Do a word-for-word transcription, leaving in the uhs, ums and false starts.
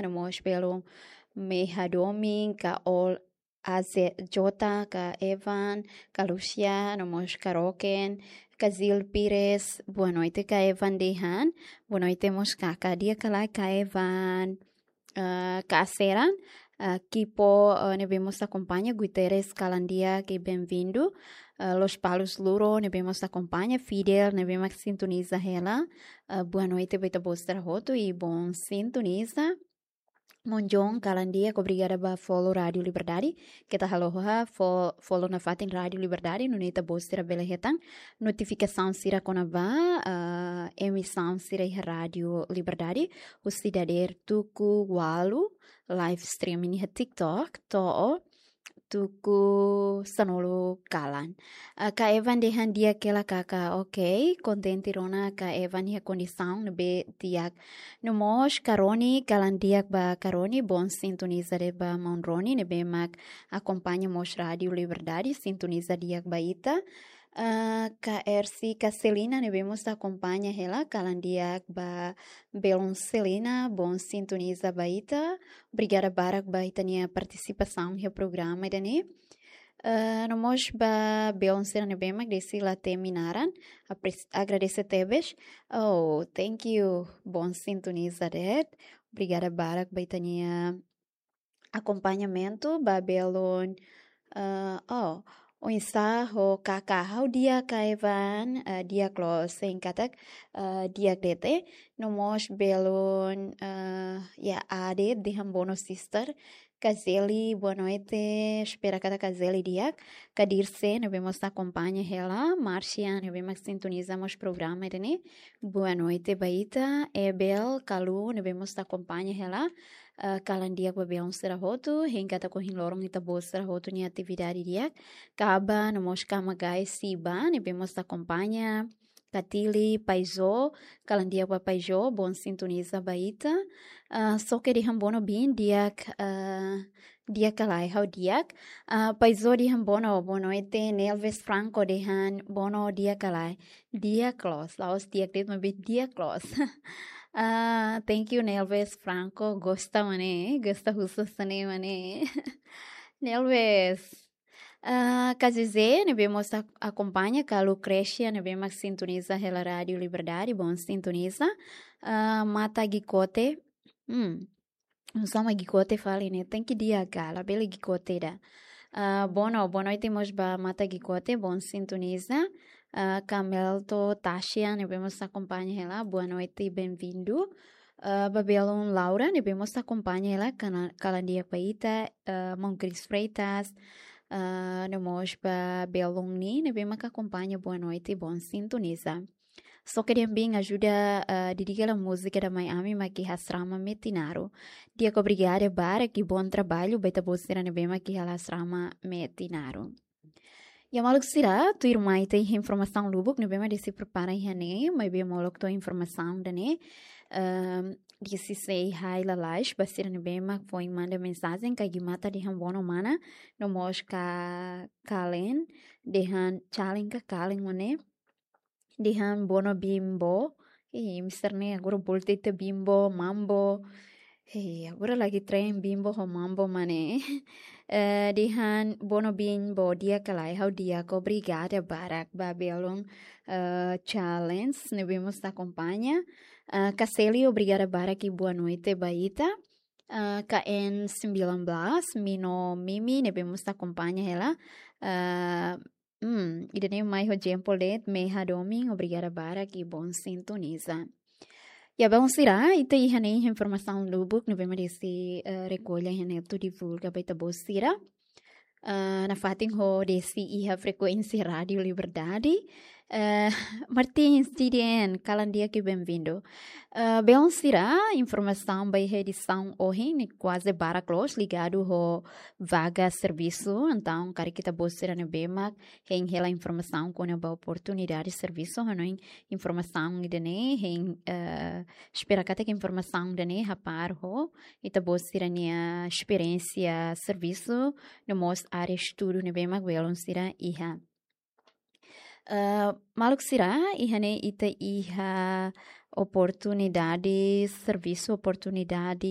no mós belun Meha Domin, ka Ol A Z J, ka Evan, ka Lucia, no mós ka Roken, ka Zil Pires, boa noite ka Evan dehan, boa noite mós ka, ka di'ak ka lae ka Evan, ah, ka Seran, ah, Kipo, ah, ne'ebé mós akompaña, Guterres kalan di'ak i benvindu, ah, Lospalos Luro, ne'ebé mós akompaña, Fidel, ne'ebé mak sintoniza hela, ah, boa noite ba ita-boot sira hotu i bon sintoniza. Monjon kalan di'ak, obrigada ba follow Rádio Liberdade. Keta haluha fo-, follow nafatin Rádio Liberdade, nune'e ita-boot sira bele hetan notifikasaun sira kona-ba, ah, emisaun sira iha Rádio Liberdade, husi dadeer tuku ualu, live streaming iha TikTok, to'o tuku sanulu kalan. Ah, ka Evan dehan di'ak hela kaka, ok, kontente rona ka Evan iha kondisaun ne'ebé di'ak. No mós ka Roni, kalan di'ak ba ka Roni, bon sintoniza de'it ba maun Roni, ne'ebé mak akompaña mós Rádio Liberdade, sintoniza di'ak ba ita. Ah, ka Ersi, ka Selina, ne'ebé mós akompaña hela, kalan di'ak ba belun Selina, bon sintoniza ba ita. Obrigada barak ba ita-nia partisipasaun iha programa ida-ne'e. Ah, no mós ba belun sira ne'ebé mak desi la temi naran, apres-, agradese tebes. Oh, thank you. Bon sintoniza de'it. Obrigada barak ba ita-nia akompañamentu, ba belun, ah, oh, oinsá ho kaka, ha'u di'ak ka Evan, ah, di'ak loos, hein katak, ah, di'ak de'it. No mós belun, ah, ya, Ade dehan boa noite sister. Ka Zeli, boa noite. Espera katak ka Zeli di'ak. Ka Dirce, ne'ebé mós akompaña hela. Marcia, ne'ebé mak sintoniza mós programa ida-ne'e, boa noite ba ita. Ebel, Kalu, ne'ebé mós akompaña hela. Ah, kalan di'ak ba belun sira hotu, hein katak ohin loron ita-boot sira hotu nia atividade di'ak. Kaba, no mós ka Magai, Siba, ne'ebé mós akompaña. Ka Tili, Paizo, kalan di'ak ba Paizo, bon sintoniza ba ita. Ah, Soke dehan bono bin, di'ak, ah, di'ak ka lae, ha'u di'ak. Ah, Paizo dehan bono, boa noite. Nelves Franco dehan bono, di'ak ka lae, di'ak loos, la'ós di'ak de'it maibé di'ak loos. Ah, thank you, Nelves Franco. Gosta mak ne'e, gosta husu hanesan ne'e mak ne'e. Nelves. Ah, ka José, ne'ebé mós ak-, akompaña, ka Lucrecia, ne'ebé mak sintoniza hela Rádio Liberdade, bon sintoniza. Ah, Mata Gikote. Hmm. Sama Gikote fali ne'e, tenke di'ak ka, labele Gikote ida. Ah, bono, boa noite mós ba Mata Gikote, bon sintoniza. Ah, ka Melto Taxian, ne'ebé mós akompaña hela, boa noite, benvindu. Ah, ba belun Laura, ne'ebé mós akompaña hela, kana-, kalan di'ak ba ita, ah, maun Cris Freitas, ah, no mós ba belun Ni, ne'ebé mak akompaña, boa noite, bon sintoniza. Soke dehan bin ajuda, ah, dedika hela múzika ida mai ami mak iha asrama Metinaro. Di'ak, obrigada barak i bom trabalho ba ita-boot sira ne'ebé mak iha asrama Metinaro. Ya maluk sira, tuirmai ita iha informasaun lubuk ne'ebé mak Desi prepara iha ne'e, maibé molok to'o informasaun ida-ne'e, ehm, Desi sei hai lalais ba sira ne'ebé mak foin manda mensajen, ka Gimata dehan bono mana, no mós ka Kalen, dehan Chalen ka Kalen mak ne'e, dehan bono Bimbo. Ih, mister ne'e agora volta ita Bimbo, Mambo. Hei, agora lagi tren Bimbo ho Mambo mak ne'e. Eh, dehan bono Bimbo, di'ak ka lae, ha'u di'ak, obrigada barak ba belun, eh, Challenge, ne'ebé mós akompaña. Eh, ka Seli, obrigada barak i boa noite ba ita. Eh, ka N sembilan belas, Mino Mimi, ne'ebé mós akompaña hela. Eh, Hmm, ida-ne'e mai ho jempol de'it, Meha Domin, obrigada barak i bom sintoniza. Ya, belun sira, ita iha ne'e informasaun lubuk ne'ebé mak Desi, eh, rekolla iha ne'e atu divulga ba ita-boot sira. Eh, nafatin ho Desi iha frekuénsia Rádio Liberdade. Eh, Martins, G D N, kalan di'ak i benvindu. Eh, belun sira, informasaun ba iha edisaun ohin ne'e kuaze barak loos ligadu ho vaga servisu. Entaun, karik ita-boot sira ne'ebé mak hein hela informasaun kona-ba oportunidade servisu, hanoin informasaun ida-ne'e, hein, eh, espera katak informasaun ida-ne'e hapar ho ita-boot sira-nia esperiénsia servisu, no mós área estudu ne'ebé mak belun sira iha. Eh, maluk sira, iha ne'e ita iha oportunidade servisu, oportunidade